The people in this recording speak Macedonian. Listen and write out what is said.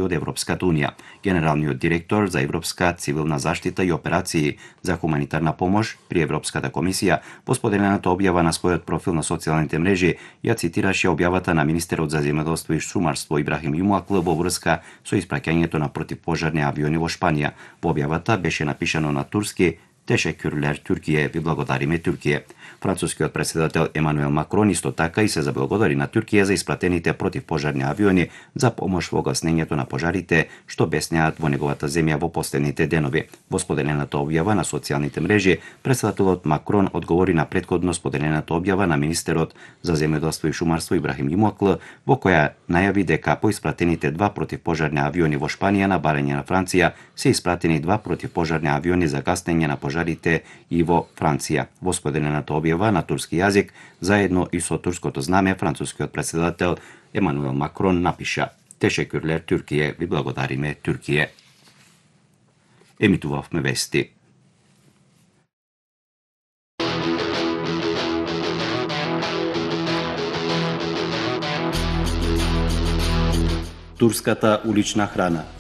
од Европската унија. Генералниот директор за Европска цивилна заштита и операции за хуманитарна помош при Европската комисија во споделената објава на својот профил на социјалните мрежи ја цитираше објавата на министерот за земјоделство и шумарство Ибрахим Јумакл во врска со испраќањето на противпожарни авиони во Шпанија. Во објавата беше напишано на турски: Тешекюрлер Туркије, ви благодариме Туркије. Францускиот председател Емануел Макрон исто така и се заблагодари на Туркија за испратените противпожарни авиони за помош во гаснењето на пожарите што беснеат во неговата земја во последните денови. Во споделената објава на социјалните мрежи, председателот Макрон одговори на претходно споделената објава на министерот за земјоделство и шумарство Ибрахим Јумакл, во која најави дека по испратените 2 противпожарни авиони во Шпанија на барање на Франција се испратени 2 противпожарни авиони за гаснење на пожарите и во Франција. Во споделената објава на турски јазик, заедно и со турското знаме, францускиот председател Емануел Макрон напиша: Тешекюрлер Туркије, ви благодариме Туркије. Емитувавме вести. Турската улична храна.